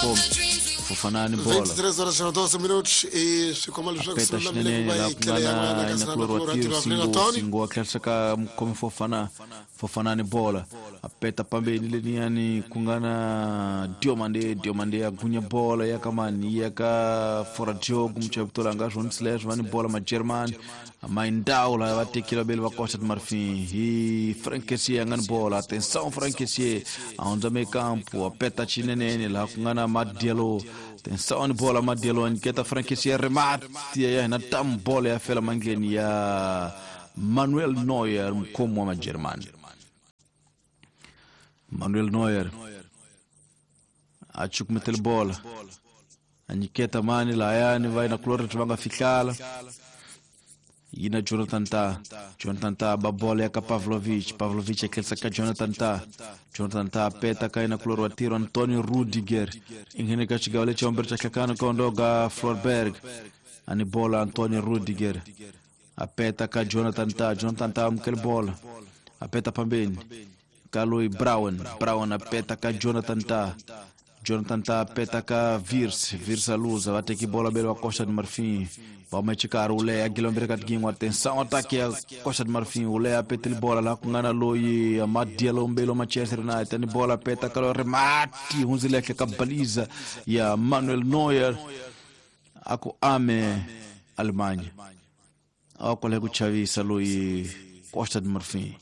mukhomi Fofana ni bola 23 horas na 12 minutos e swi komba leswaku peta swi lulamile xinene ku va laha hi ku tlhela nga ya na n'wana ka inakulori wa Sinakulorhi wa tiro Tiro Afrika Singo Tony Singo a tlherisa ka mukhomi Fofana Fofana ni bola a peta pambeni leniyani ku nga na Diomande Diomande ya gunya bola ya ka mani ya ka Foradiogo muchavi a nga swona leswo va ni bola magermani Maindau laha va tekile vabeli va Costa de Marfim hi Frank Kessié a nga ni bola atenção Frank Kessié a hundza meio campo a peta xinenene laha ku nga na Madialo atenção ni bola Madialo a nyiketa Frank Kessié remate ya hina tam bola ya fela mandleni ya Manuel Neuer mukhomi wa majeremani Manuel Neuer a cukumetele bola a nyiketa mani lahayani va yinakulorhi va nga fihlala yina Jonathan Ta Jonathan Ta ba bola ya ka Pavlovic Pavlovic a tlherisa ka Jonathan Ta Jonathan Ta peta ka yinakulorhi wa tiro Antonio Rudiger i nghene ka xigawo lexi vumbirhi xa hlakano ka ondoga Florberg a ni bola Antonio Rudiger a peta ka Jonathan Ta Jonathan Ta amukele bola a peta pambeni ka loyi Brown Brown a peta ka Jonathan Ta Jonathan Ta peta ka Virs Virs a luza va teki bola bele va Costa de Marfim va huma exikarhi wu leha gilombere ka tigin'wa atenção ataque ya Costa de Marfim wu leha petele bola laha ku nga na loyi Madialo mbelo Manchester United ni bola peta ka loyi remati hundzile ehenhla ka baliza ya Manuel Neuer a ku ame Alemanha a kwale ku chavisa loyi Costa de Marfim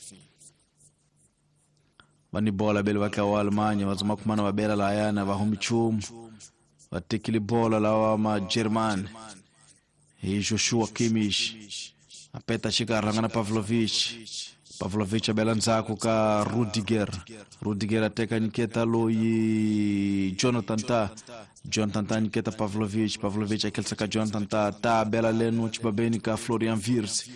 va ni bola bele va tlawa Alemanha va zama kumana va bela lahayana va humi nchumu va tekile bola lawa majeremani hi Joshua Kimmich a peta xikarhi nga na Pavlovic Pavlovic a bela ndzhaku ka Rudiger Rudiger a teka nyiketa loyi Jonathan Ta Jonathan Ta nyiketa Pavlovic Pavlovic a khelisa ka Jonathan Ta Ta bela leno xibabeni ka Florian Wirtz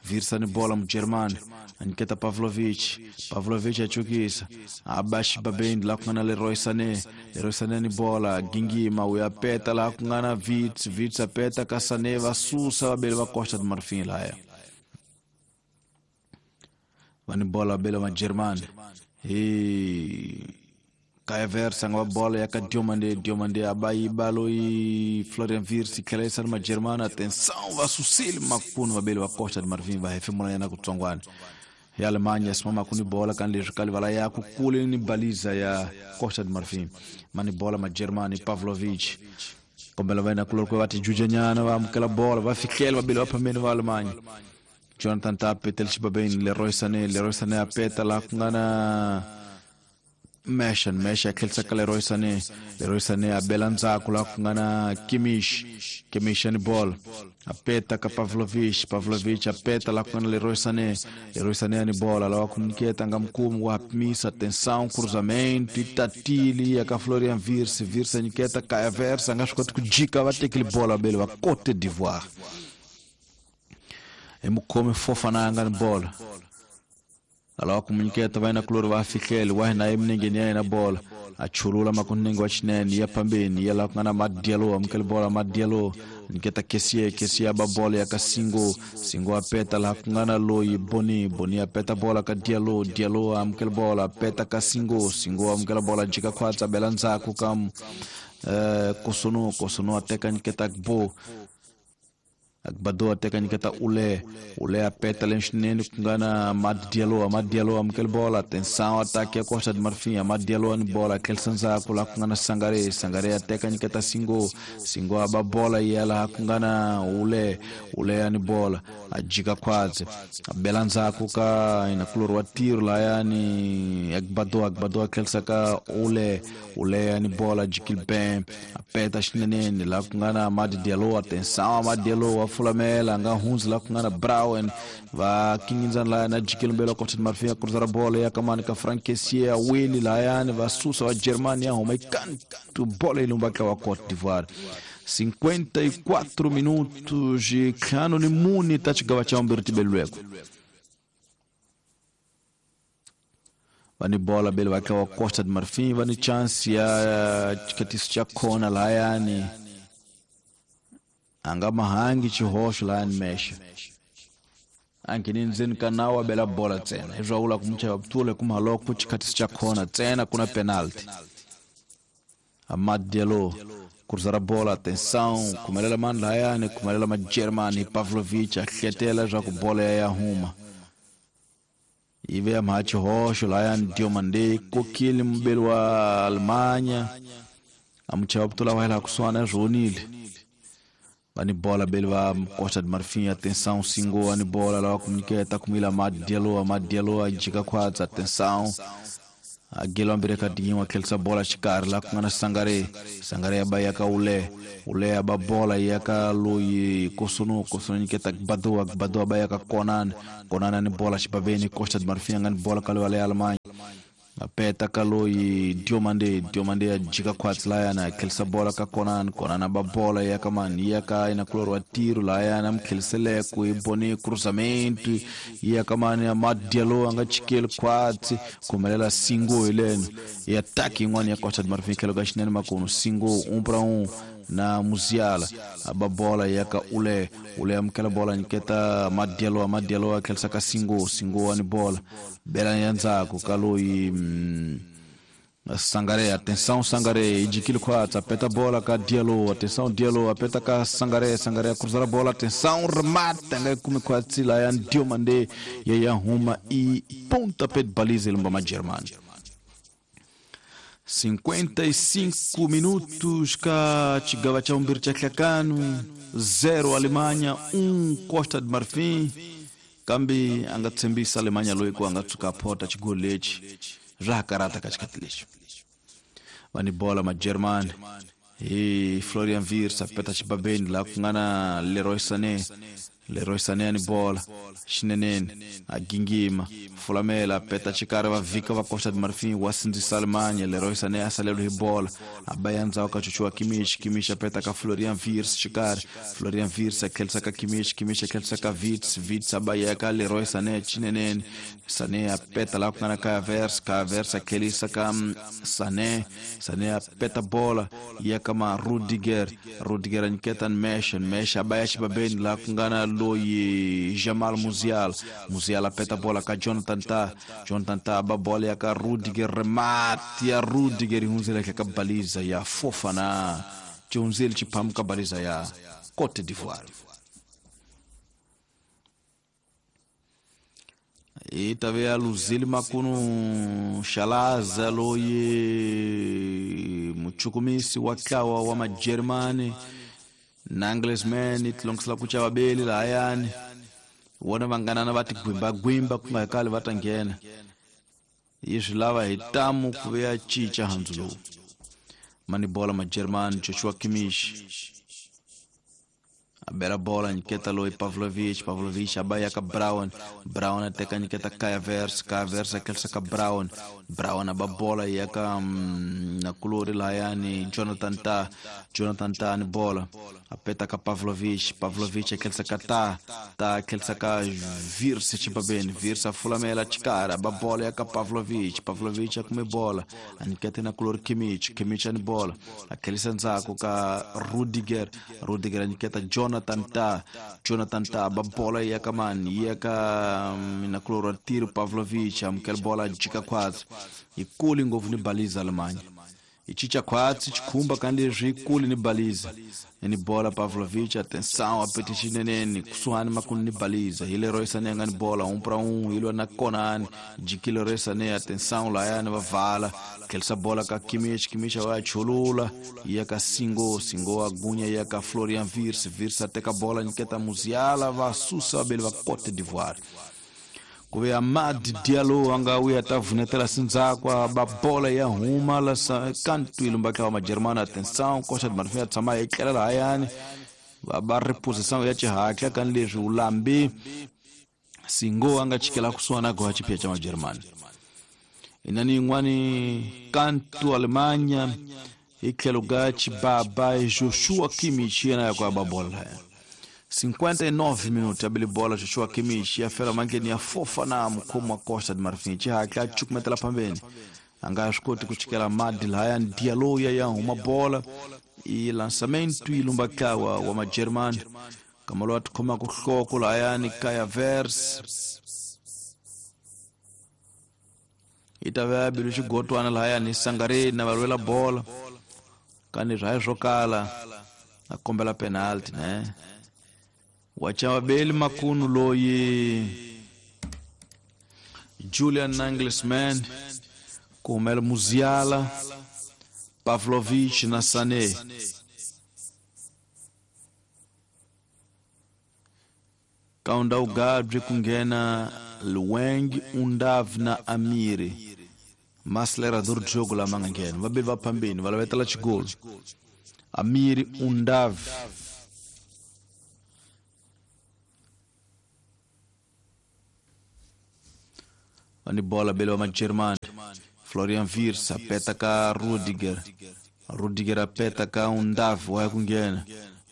Wirtz a ni bola mujeremani a nyiketa Pavlovic Pavlovic a cukisa a ba xibabeni laha ku nga na Leroy Sané Leroy Sané ni bola gingima u ya peta laha ku nga na Wirtz Wirtz a peta ka Sané va susa vabeli va Costa de Marfim lahaya va ni bola vabeli va majeremani hi Kai Havertz a nga va bola ya ka Diomande Diomande a ba yiba loyi Florian Wirtz tlhela yisa ni majeremani atenção va susile makunu vabeli va Costa de Marfim va hefemula nyana kutsongwana ya Alemanha simama ku ni bola kan leswi ka livala ya ku kule ni baliza ya Costa de Marfim ma ni bola majeremani Pavlovic kombela va yena kuloko va tijuja nyana va amukela bola va fihlela vabeli va phambeni va Alemanha Jonathan Ta petele xibabeni Leroy Sané Leroy Sané a peta laha ku nga na Mesha Mesha a tlherisa ka Leroy Sané Leroy Sané a bela ndzhaku laha ku nga na Kimmich Kimmich ni bola a peta ka Pavlovic Pavlovic a peta laha ku nga na Leroy Sané Leroy Sané a ni bola lawa ku nyiketa nga mukumi wa pimisa atenção cruzamento i tatili ya ka Florian Wirtz Wirtz a nyiketa Kai Havertz a nga swi koti ku jika va tekile bola vabeli va Cote d'Ivoire hi mukhomi Fofana a nga ni bola alawa ku munyiketa va yinakulori va fihlele wa hina eminengeni ya yena bola a chulula makunenge wa xinene ya phambeni ya laha ku nga na Madialo amukele bola Madialo nyiketa Kessié Kessié a ba bola ya ka Singo Singo a peta laha ku nga na loyi Boni Boni a peta bola ka Diallo Diallo amukele bola a peta ka Singo Singo amukela bola jika khwatsa bela ndzhaku ka Kosono Kosono a teka nyiketa Gbo Agbado a teka nyiketa Ule Ule a peta le xinene ku nga na Amad Diallo Amad Diallo amukele bola atenção ataque ya Costa de Marfim Amad Diallo ni bola tlherisa ndzhaku laha ku nga na Sangare Sangare a teka nyiketa Singo Singo a ba bola yi ya laha ku nga na Ule Ule ya ni bola a jika khwatsi a bela ndzhaku ka inakulori wa tiro lahayani Agbado Agbado a tlherisa ka Ule Ule ya ni bola jikile ben a peta xineneni laha ku nga na Amad Diallo atenção Amad Diallo wa fulamela nga hundzi laha ku nga na Brown va kingindzana lahaya na jikile mbelo wa Costa de Marfim a cruzara bola ya kamani ka Frank Kessié a weli lahayani va susa va Germany ya huma ikantu bola yi lumba wa Cote d'Ivoire 54 minutos ntlhanu ni mune ta xigawa xa vumbirhi tibelweko va ni bola bele va tlawa Costa de Marfim va ni chance ya xikatiso xa khona lahayani a nga mahangi xihoxo lahayani mexe a ngheni ndzeni ka nawu a bela bola ntsena hi swa vula ku muchava vutule kuma loko xikhatiso xa khona ntsena ku na penalty Amad Diallo cruzar a bola, atenção, kumelela mani lahayani, kumelela Majermani, Pavlovic a hletela leswaku bola ya huma. Yi ve ya mhachi hoxo lahayani, Diomande kokile mubeli wa Alemanha a muchava putula wa hela kusuhani swi onile. Va ni bola beli va Costa de Marfim, atenção, Singo a ni bola lava ku nyiketa kumila Amad Diallo, Amad Diallo a jika khwatsa, atenção. A gelo ambirhi ka tinyiwa tlherisa bola xikarhi laha ku nga na Sangare, Sangare ya ba ya ka Ule, Ule ya ba bola ya ka loyi Kosono, Kosono nyiketa Gbadua, Gbadua ba ya ka Konan, Konan ni bola xibaveni, Costa de Marfim nga ni bola ka loyi wa le Alemanha. A peta ka loyi Diomande, Diomande ya jika khwatsi lahayana, a tlherisa bola ka Konan, Konan a ba bola ya ka mani, ya ka inakulori wa tiro lahayana, a mi tlheriseleko hi bone cruzamento ya ka mani, Amad Diallo a nga chikeli khwatsi, khumelela Singo hi leno i ataki yin'wana ya Costa de Marfim tlhelo ka xinene makunu, Singo 1 para 1 na Musiala, a ba bola ya ka Ule, Ule amukela bola nyiketa Amad Diallo, Amad Diallo a tlherisa ka Singo, Singo wa ni bola bela ya ndzhaku ka loyi Sangare, atenção Sangare, yi jikile khwatsi, a peta bola ka Diallo, atenção Diallo, a peta ka Sangare, Sangare a cruzar a bola, atenção, remata, nga yi kumi khwatsi lahayani, Diomande ya ya huma i pontapé de baliza yi lumba Majermani. 55 minutos ka xigava xa vumbirhi xa nhlekano, 0 Alemanha, 1 Costa de Marfim. Kambe a nga tshembisa Alemanha loyi ku a nga tshuka a phota xigoli lexi swa ha karata ka xikhathi lexi. Va ni bola Majermani hi Florian Wirtz a peta xibabeni laha ku nga na Leroy Sané, Leroy Sané a ni bola xineneni a gingima fulamela a peta xikarhi va vhika va Costa de Marfim wa sindzisa Alemanha. Leroy Sané a saleriwe hi bola a ba ya ndzhaku ka Joshua Kimmich, Kimmich a peta ka Florian Wirtz xikarhi, Florian Wirtz a tlherisa ka Kimmich, Kimmich a tlherisa ka Wirtz, Wirtz a ba ya ka Leroy Sané xineneni, Sané a peta laha ku nga na Kai Havertz, Kai Havertz a tlherisa ka Sané, Sané a peta bola ya ka ma Rudiger, Rudiger a nyiketa Nmecha, Nmecha a ba ya xibabeni laha ku nga na loyi Jamal Musiala, Musiala a peta bola ka Jonathan Tah, Jonathan Tah a ba bola ya ka Rudiger, remate ya Rudiger yi hundzela ehenhla ka baliza ya Fofana, xi hundzile xiphamu ka baliza ya Cote d'Ivoire. Yi ta ve ya luzile makunu Shalaza loyi muchukumisi wa ntlawa wa Majeremani Nagelsmann yi tilongisela ku xava beli lahayani vona vanganana va tigwimbagwimba ku nga hi kale va ta nghena yi swi lava hi tamu ku ve ya cinca handzu lowu mani bola Majeremani Joshua Kimmich a bela bola nyiketa loyi Pavlovic, Pavlovic a ba ya ka Brown, Brown a teka nyiketa Kai Havertz, Kai Havertz a tlherisa ka Brown, Brown a ba bola ya ka nakulori lahayani Jonathan Tah, Jonathan Tah ni bola a peta ka Pavlovic, Pavlovic a tlherisa ka Tah, Tah a tlherisa ka Wirtz xibabeni, Wirtz a fulamela xikarhi a ba bola ya ka Pavlovic, Pavlovic a kume bola a nyiketa nakulori Kimmich, Kimmich a ni bola a tlherisa ndzhaku ka Rudiger, Rudiger a nyiketa Jonathan Tah, Jonathan Tah ba bola ya ka mani ya ka nakulori wa tiro Pavlovic amukela bola jika khwatsi yi kuli ngopfu ni baliza Alemanha yi cinca khwatsi xikhumba ka leswi yi kuli ni baliza ni bola Pavlovic, atenção a pete xineneni kusuhani makulu ni baliza hi Leroy Sané a nga ni bola 1 para 1 yi lwa na Konan jiki Leroy Sané, atenção lahayani va vala tlherisa bola ka Kimmich, Kimmich a va ya chulula ya ka Singo, Singo a gunya ya ka Florian Wirtz, Wirtz a teka bola nyiketa Musiala va susa vabeli va Cote d'Ivoire. Ku ve Amad Diallo a nga vuya ta vunetela sindzhaku a ba bola ya huma la kantu yi lumba ntlawa wa Majeremani, atenção Costa de Marfim a tshama yi tlela lahayani va ba reposição ya xihatla ka leswi wu lambi Singo a nga chikela kusuhani na goha xiphiya xa Majeremani. Inani yin'wani kantu Alemanha hi tlhelo ka xibaba Joshua Kimmich yena ya ku a ba bola lahaya. 59 minutos abili bola Joshua Kimmich ya fela mandleni ya Fofana mukhomi wa Costa de Marfim xihatla a cukumetela phambeni a nga swi koti ku chikela Madi lahayani Diallo ya ya huma bola i lançamento yi lumba ntlawa wa Majeremani kama loyi a tikhomaka nhloko lahayani Kai Havertz yi ta va ya bile xigotwana lahayani Sangare na va lwela bola Kani swa swo kala a kombela penalty ne. Wachavabeli makunu loyi Julian Nagelsmann ku humela Musiala, Pavlovic na Sané. Kaunda Ugabri ku nghena Lueng, Undav na Amiri. Maacelerador de jogo lama nga nghena. Vabeli va phambeni va lavetela xigolo. Amiri, Undav. Vani bola bele wa Majermani. Florian Wirtz apeta ka Rudiger. Rudiger apeta ka Undav wa ku nghena.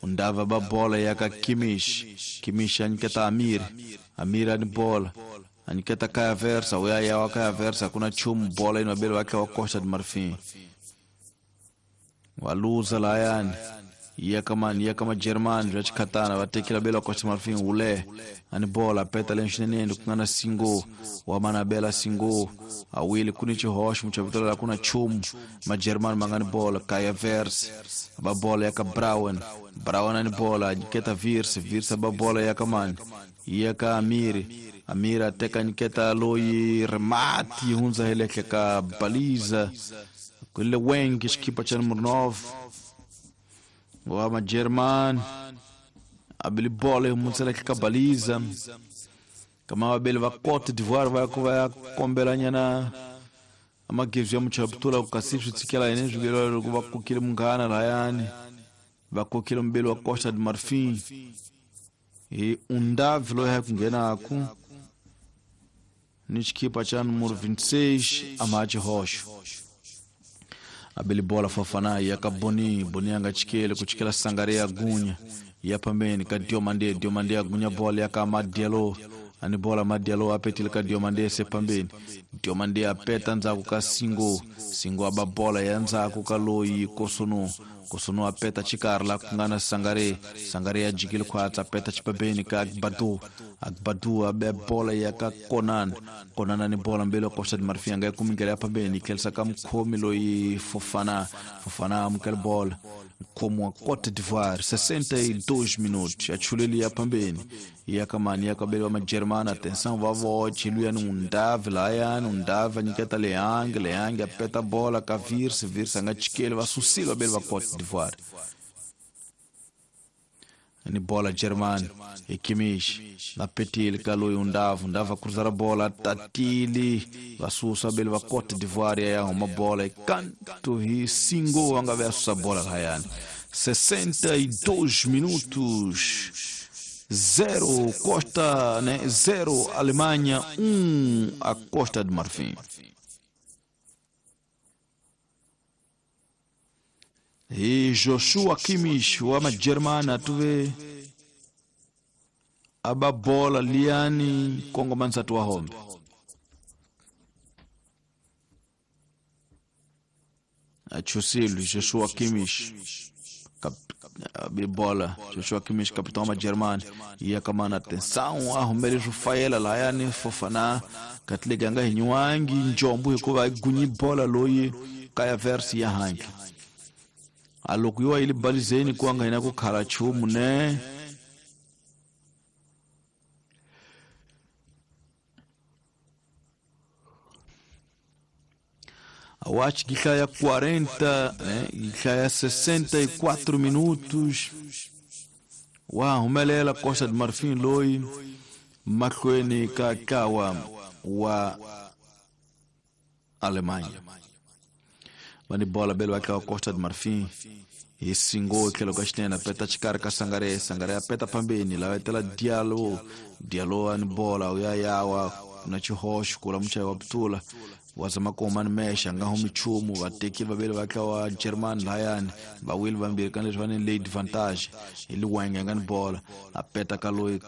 Undav ba bola ya ka Kimmich. Kimmich anyiketa Amir. Amir ani bola. Anyiketa Kai Havertz, uya ya wa Kai Havertz kuna chumu bola ino bele wake wa Costa de Marfim. Waluza layani. Iya kama Germani vya chikatana vatekela bela wa Costa Marfim ule ani bola peta lenxinene kungana singo wa manabela singo awili kuni chihoxo muchavitola kuna chumu majermani mangani bola Kai Havertz ba bola ya ka Brown Brown ani bola nyiketa Wirtz Wirtz ba bola ya ka mani ya ka Amiri Amiri ateka nyiketa loyi remati hunza heleke ka baliza kule wengi xikipa cha número 9 wa Majerman abili bola mutsela ka baliza kama wabeli va Cote d'Ivoire va ku va kombela nyana amagezi ya muchaputula kasi swi tsikela yene swi loko va kokile munghana layani va kokile mbeli wa Costa de Marfim hi Undav loyi a ku nghenaku ni xikipa cha número 26 Amachi Rocha. Abeli bola Fofana ya ka Boni Boni anga chikele kuchikela Sangare ya gunya ya pambeni ka Diomande Diomande ya gunya bola ya ka Madialo ani bola Madialo apetile ka Diomande se pambeni Diomande apeta nzaku ka Singo Singo aba bola ya nzaku ka loyi Kosono Kosono apeta chikarla kungana Sangare Sangare ya jikile khwatsa apeta chipambeni ka Agbadu Agbadu abe bola ya ka Konan Konan ani bola mbele Costa de Marfim anga kumingela pambeni kelsa ka mkhomi loyi Fofana Fofana amukela bola como a Cote d'Ivoire 62 minutos achuleli ya pambeni ya kamani ya kabelo ma Germana atenção vavote luya Undav layan Undav anyiketa Leang Leang apeta bola ka Wirtz Wirtz anga chikele va susilo belo va Cote d'Ivoire ni bola German e Kimmich na petil kalo Undav Undav cruzar a bola tatili va susa belo va Cote d'Ivoire ya uma bola e canto e singo anga verso a bola Ryan 62 minutos 0 Costa, né? 0 Alemanha, 1 a Costa de Marfim. E Joshua Kimmich wa Majermana tuve aba bola liani Kongo mansatu wa hombe. Achusilu Joshua Kimmich bola Joshua Kimmich capitão ma Germani ia kamana atenção arrumele Rafaela layani Fofana katlega nga hinywangi njombu hikuva gunyi bola loyi Kai Havertz ya hangi aloko yiwa ili balizeni kuanga ina kukhala chumu ne acho que já é 40, né? Já é 64 minutos. Uau, Melela Costa de Marfim loi mahlweni ka ntlawa wa Alemanha. Va ni bola belo wa ntlawa Costa de Marfim hi singo tlhelo ka xinene peta xikarhi ka Sangare Sangare ya peta phambeni lava etela Diallo Diallo a ni bola ya yawa na xihoxo ku la muchayi wa putula wa zama ku huma ni mexe a nga humi nchumu vateki vaviri va tlawa German layani vawili vambirhi ka leswi va ni late advantage hi Liwenge a nga ni bola a peta ka loyi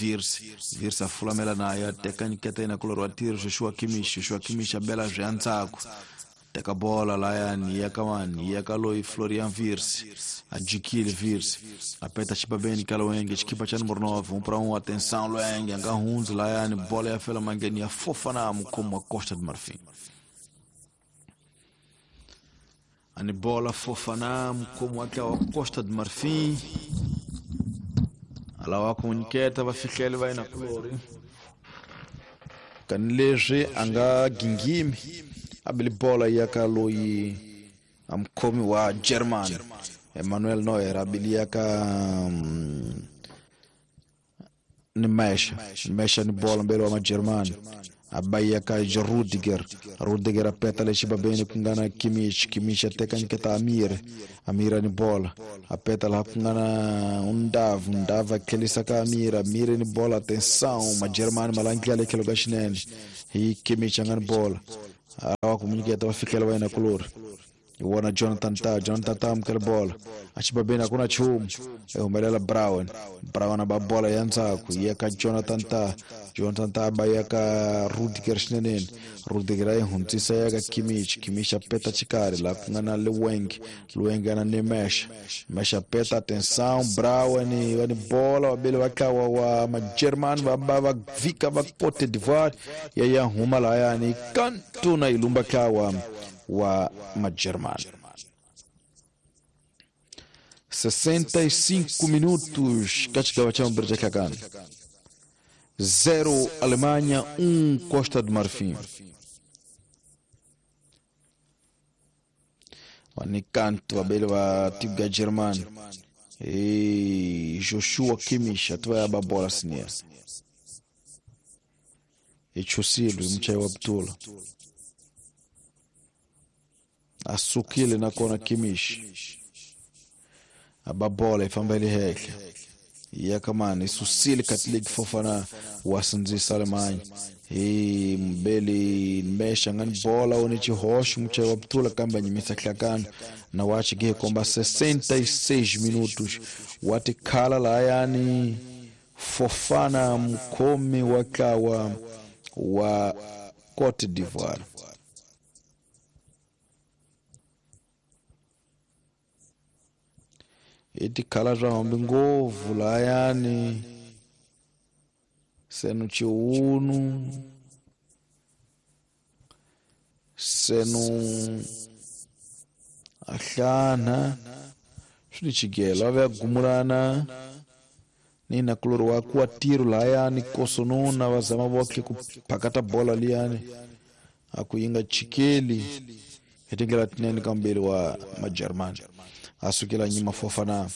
Wirtz Wirtz a fulamela naye a teka nyiketa yena kulorhi wa tirhi Joshua Kimmich Joshua Kimmich a bela swi ya ndzhaku teka bola layani ya ka mani ya ka loyi Florian Wirtz a jikile Wirtz a peta xibabeni ka Lwenge xikipa xa número 9 1 para 1 atenção Lwenge a nga hundzi layani bola ya fela mangeni ya Fofana mukhomi wa Costa de Marfim. Ani bola Fofana mukhomi wa ntlawa wa Costa de Marfin alawa ku n'wi nyiketa va fihlele va yena kulori kani leswi a nga gingimi a bile bola ya ka loyi a mukhomi wa German Emmanuel Neuer a bile ya ka ni Mesha Mesha ni bola mbele wa Majerumani a ba ya ka Rudiger Rudiger a peta le xibabeni ku nga na Kimmich Kimmich a teka nyiketa Amir Amir ni bola a peta laha ku nga na Undav Undav a tlhelisa ka Amir Amir ni bola atenção Majerumani ma langutela le tlhelo ka xinene hi Kimmich a nga ni bola a lava ku n'wi nyiketa va fikela va yena kulori hi wona Jonathan Ta Jonathan Ta amukela bola a xibabeni a ku na nchumu i humelela Brown Brown a ba bola ya ndzhaku yi ya ka Jonathan Ta Jonathan Ta ba ya ka Rudiger xineneni Rudiger a yi hundzisa ya ka Kimmich Kimmich a peta xikarhi laha ku nga na Leweng Leweng a na Nemesh Mesh a peta atenção Brown va ni bola vabeli va ntlawa wa Majerumani va ba va vhika va Cote d'Ivoire ya ya huma lahayani kantuna yi lumba ntlawa wa Majerumani. 65 minutos ka xigava xa vumbirhi xa hlakani 0 Alemanha 1 Costa do Marfim. Va ni kantu vabeli va tiko ya Germany hi Joshua Kimmich a tiva ya ba bola senior hi chusile hi muchayi wa butula a sukile nakona Kimmich a ba bola yi famba yi le henhla ya ka mani i susile Catholic Fofana wa sindzisa Alemanha hi mbeli Mesha nga ni bola u ni xihoxo muchayi wa butula kambe a nyimisa hlakana na wa xige komba 66 minutos wa tikhala lahayani Fofana mukhomi wa ntlawa wa Cote d'Ivoire. I tikhala swa hombi ngopfu lahayani senu chiunu senu ahlana swi ni chigelo a ve a gumulana ni nakulori wa kuwa tiro lahayani kosonona va zama votlhe ku phakata bola liyani a ku yi nga chikeli hi tindlela tinene ka mbirhi wa Majerumani a sukela nyima Fofana.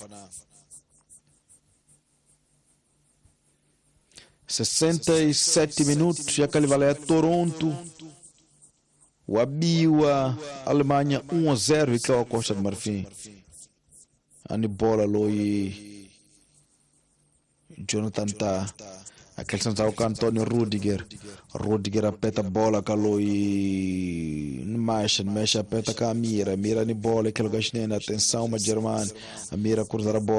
67 minutos ya kalivala ya Toronto wa biwa Alemanha 1-0 hi ntlawa wa Costa do Marfim. A ni bola loyi Jonathan Ta a tlhelisa ndzhaku ka Antonio Rudiger Rudiger a peta bola ka loyi Mesha Mesha a peta ka Amira Amira ni bola etlhelo ka xinene atenção Majerumani Amira kurza ra bola.